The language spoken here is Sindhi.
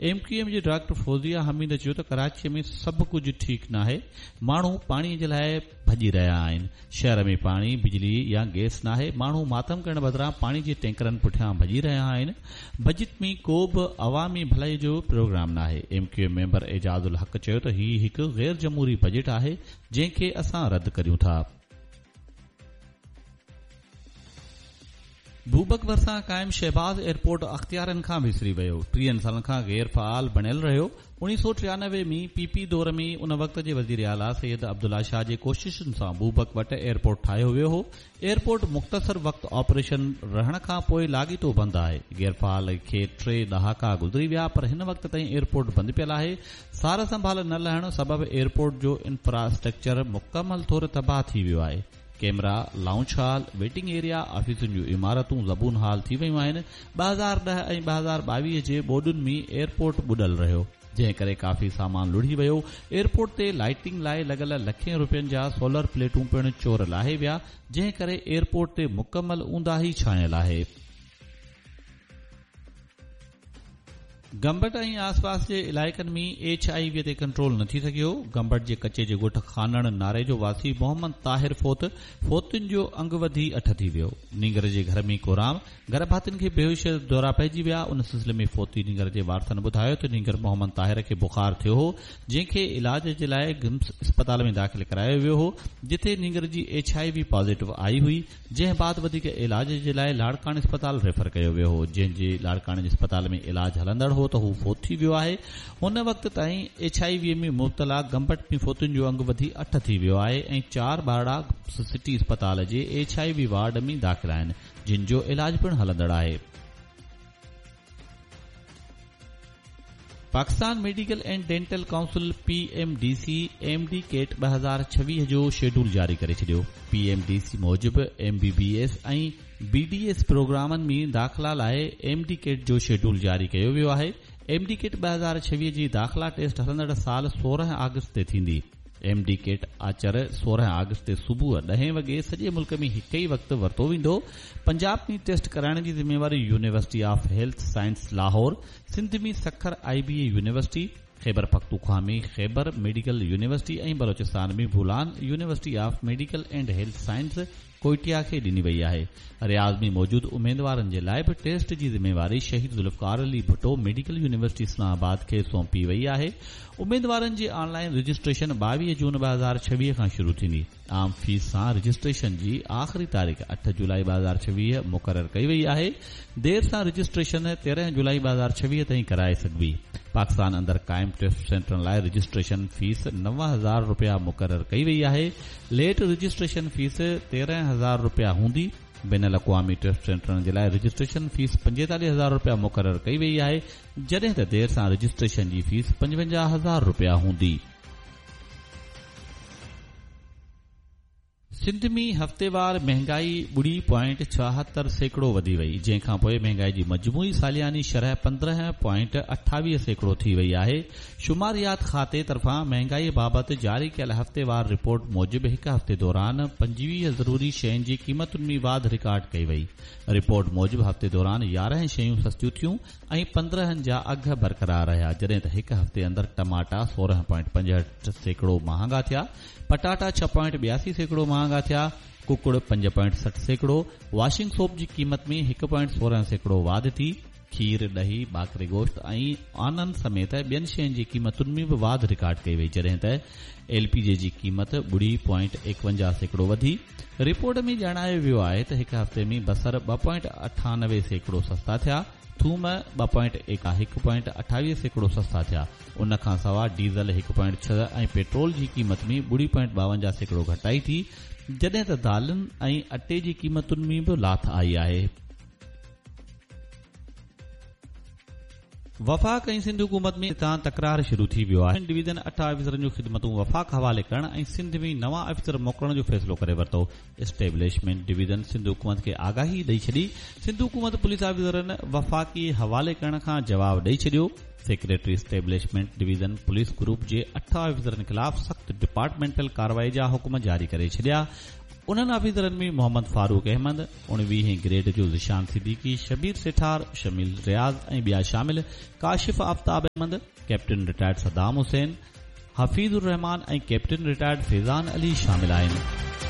ايم ڪيو ايم جي ڊاڪٽر فوزيه حميد چيو ته ڪراچي ۾ سڀ ڪجهه ٺيڪ ناهي، ماڻهو پاڻي جي لاء ڀڄي رهيا آهن، شهر ۾ پاڻي، بجلي يا گئس ناهي، ماڻهو ماتم ڪرڻ بدران پاڻي جي ٽينڪرن پٺيان ڀڄي رهيا آهن، بجيٽ ۾ ڪو به عوامي ڀلائي جو پروگرام ناهي. M Q M member Ijaz ul Haq چيو ته هي هڪ غير جمهوري بجيٽ آهي، جنهن کي اسان رد ڪريون ٿا. بوبڪ ڀرسان قائم شهباز ايئرپورٽ اختيارين کان وسري ويو، ٽيهن سالن کان غير فعال بڻيل رهيو، اوڻيهه سئو ٽيانوي ۾ پي پي دور ۾ ان وقت جي وزيراعليٰ سيد عبدالله شاهه جي ڪوششن سان بوبڪ وٽ ايئرپورٽ ٺاهيو ويو هو، ايئرپورٽ مختصر وقت آپريشن رهڻ کان پوء لاڳيتو بند آهي، غير فعال کي ٽي ڏهاڪا گذري ويا پر هن وقت تائين ايئرپورٽ بند پيل آهي، سار سنڀال نه لهڻ سبب ايئرپورٽ جو انفراسٽرڪچر مڪمل طور تباهه ٿي ويو آهي. Camera, lounge hall, waiting area, آفيسن جون عمارتون زبون حال ٿي ويون آهن، 2010 ۽ 2022 جي ٻوڏن ۾ ايئرپورٽ ٻڏل رهيو، جنهن ڪري ڪافي سامان لڙهي ويو، ايئرپورٽ تي لائيٽنگ لاء لڳل لکين روپين جا سولر پليٽون پڻ چور لاهي ويا، جنهن ڪري ايئرپورٽ تي مڪمل اونداهي ڇانيل آهي. گمبٽ ۽ آسپاس جي علائقن ۾ ايڇ I V تي ڪنٽرول نه ٿي سگهيو، گمبٽ جي ڪچي جي ڳوٺ خانڻ ناريجو واسي محمد طاهر فوت، فوتين جو انگ وڌي اٺ ٿي ويو، نينگر جي گهر ۾ ڪورام، گهر ڀاتين کي بيهوشي جا دورا پئجي ويا، ان سلسلي ۾ فوتي نينگر جي وارثن ٻڌايو ته نينگر محمد طاهر کي بخار ٿيو هو، جنهن کي علاج جي لاء گمس اسپتال ۾ داخل ڪرايو ويو هو، جتي نينگر جي ايڇ I V positive آئي هئي، جنهن بعد وڌيڪ علاج جي لاء لاڙڪاڻي اسپتال ريفر ڪيو ويو هو، جنهن جي لاڙڪاڻي جي اسپتال ۾ علاج هلندڙ هو ته هو فوت ٿي ويو آهي، هن وقت تائين ايڇ I V ۾ مبتلا گمبٽ ۾ فوتين جو انگ وڌي اٺ ٿي ويو آهي ۽ چار ٻارڙا سٽي اسپتال جي ايڇ I V ward ۾ داخل آهن، جن جو علاج پڻ هلندڙ آهي. Pakistan medical and dental council, P M D C, M D CAT 2026 جو شيڊول جاري ڪري ڇڏيو. پي ايم ڊي سي موجب M B B S ۽ B D S پروگرامن ۾ داخلا لاء ايم ڊي ڪيٽ جو شيڊول جاري ڪيو ويو آهي. ايم ڊي ڪيٽ 2026 جي داخلا ٽيسٽ هلندڙ سال 16 آگسٽ تي ٿيندي. ايم ڊي ڪيٽ آچر 16 آگسٽ تي صبح ڏهين وڳي سڄي ملڪ ۾ هڪ ئي وقت ورتو ويندو. پنجاب ۾ ٽيسٽ ڪرائڻ جي ذميواري university of health science Lahore, Sindh ۾ Sukkur I B A university, Khyber Pakhtunkhwa ۾ Khyber medical university ۽ Balochistan ۾ Bolan university of medical and health science Quetta کي ڏني وئي آهي. رياض ۾ موجود اميدوارن جي لاء به ٽيسٽ جي ذميواري Shaheed Zulfiqar Ali Bhutto medical university Islamabad کي سونپي وئي آهي. اميدوارن جي آن لائين رجسٽريشن 22 جون 2026 کان شروع ٿيندي. عام فيس سان رجسٽريشن جي آخري تاريخ اٺ جولائي 2026 مقرر ڪئي وئي آهي. دير سان رجسٽريشن 13 جولائي 2026 تائين ڪرائي سگهبي. پاڪستان اندر قائم ٽيسٽ سينٽرن لاء رجسٽريشن فيس 9000 رپيا مقرر ڪئي وئي آهي. ليٽ رجسٽريشن فيس 13000 رپيا هوندي. بين الاقوامي ٽيسٽ سينٽرن جي لاء رجسٽريشن فيس 45000 رپيا مقرر ڪئي وئي آهي، جڏهن ته دير سان رجسٽريشن جي فيس 55000 رپيا هوندي. سنڌ ۾ هفتيوار مهنگائي ٻڙي پوائنٽ 76% وڌي وئي، جنهن کانپوء مهنگائي جي مجموعي سالياني شرح 15.28% ٿي وئي آهي. شماريات کاتي طرفان مهنگائي بابت جاري ڪيل هفتيوار رپورٽ موجب هڪ هفتي دوران 25 ضروري شين جي قيمتن ۾ واڌ رڪارڊ ڪئي وئي. رپورٽ موجب هفتي دوران 11 شيون سستيون ٿيون ۽ 15 جا اگهه برقرار رهيا جڏهن ته هڪ هفتي اندر ٽماٽا 16.65% مهانگا ٿيا، پٽاٽا 6.82% مهانگا ٿيا، ڪڪڙ 5.60%، واشنگ سوپ جي قيمت ۾ 1.16% واڌ ٿي، کير، ڏهي، ٻاڪري گوشت ۽ آنن سميت ٻين شين جي قيمتن ۾ به واڌ رڪارڊ ڪئي وئي جڏهن ته ايل پي جي جي قيمت ٻڙي پوائنٽ 51% وڌي. رپورٽ ۾ ڄاڻايو ويو آهي ته هڪ هفتي ۾ بصر 2.98% سستا ٿيا، ٿوم ٻه پوائنٽ 1.28% سستا ٿيا. ان کانسواء ڊيزل هڪ پوائنٽ ڇهه ۽ پيٽرول جي قيمت ۾ ٻڙي پوائنٽ 52% گهٽتائي ٿي جڏهن ته دالين ۽ اٽي جي قيمتن ۾ به لاٿ آئي آهي. وفاق ۽ سنڌ حڪومت ۾ تان تڪرار شروع ٿي ويو آهي. ڊويزن اٺ آفيسرن جون خدمتون وفاق حوالي ڪرڻ ۽ سنڌ ۾ نوان آفيسر موڪلڻ جو فيصلو ڪري ورتو. اسٽيبلشمينٽ ڊويزن سنڌ حڪومت کي آگاهي ڏئي ڇڏي. سنڌ حڪومت پوليس آفيسرن وفاقي حوالي ڪرڻ کان جواب ڏئي ڇڏيو. Secretary establishment division police group جي اٺ آفيسرن خلاف سخت ڊپارٽمينٽل ڪارروائي جا حڪم جاري ڪري ڇڏيا. انهن آفيسرن ۾ محمد فاروق احمد، اڻويهين گريڊ جو ذيشان صديقي، شبير سيٺار، شميل رياض ۽ ٻيا شامل، Kashif Aftab Ahmed, captain retired Saddam Hussain, Hafeez ur Rehman ۽ captain retired Faizan Ali شامل آهن.